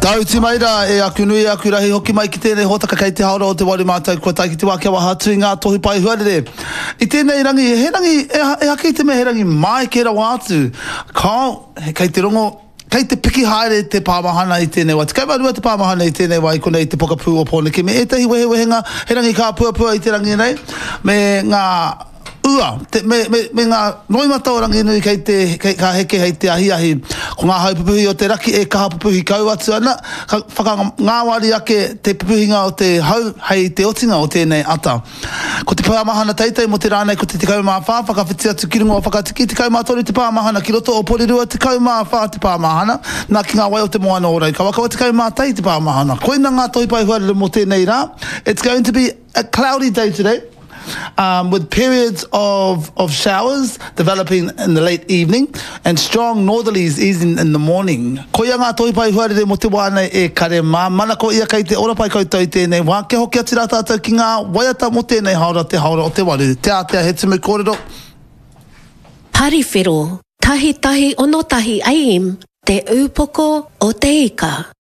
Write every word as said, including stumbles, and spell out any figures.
Tāuti mai rā e aku nui, aku rahi hoki mai ki tēnei hōtaka kei te haora o te waru mātou kua tae ki te wā kia waha atu i ngā tohu pae huarere. I tēnei rangi, he rangi, e hake i te mea he rangi māeke rawa atu. Kao, kei te rongo, kei te piki haere te pāmahana i tēnei wā. Tekau mā rua te pāmahana i tēnei wā i konei i te pokapū o Pōneke me ētahi wehewehenga, he rangi kāpuapua i te rangi nei, me ngā ua, te, me, me, me ngā roimata o Ranginui kei te, kei, ka heke hei te ahiahi. Ko ngā hau pupuhi o te raki e kaha pupuhi kau atu ana, ka whakangāwari ake te pupuhinga o te hau hei te otinga o tēnei ata. Ko te pāmahana teitei mō te rā nei ko te tekau mā whā, whakawhiti atu ki runga o Whakatiki, tekau mā toru te pāmahana ki roto o Porirua, tekau mā whā te pāmahana, nā ki ngā wai o te moana o Raukawa, tekau mā tahi te pāmahana. Koina ngā tohu pae huarere mō tēnei rā. It's going to be a cloudy day today. Um, with periods of, of showers developing in the late evening and strong northerlies easing in the morning. Koia ngā tohu pae huarere mō te wā nei e kare mā. Mana ko ia kei te ora pai koutou i tēnei wā. Kia hoki atu rā tātou ki ngā waiata mō tēnei haora te haora o te waru. Te ātea he tumu kōrero. Pariwhero, tahi tahi ono tahi AM, Te Ūpoko o te Ika.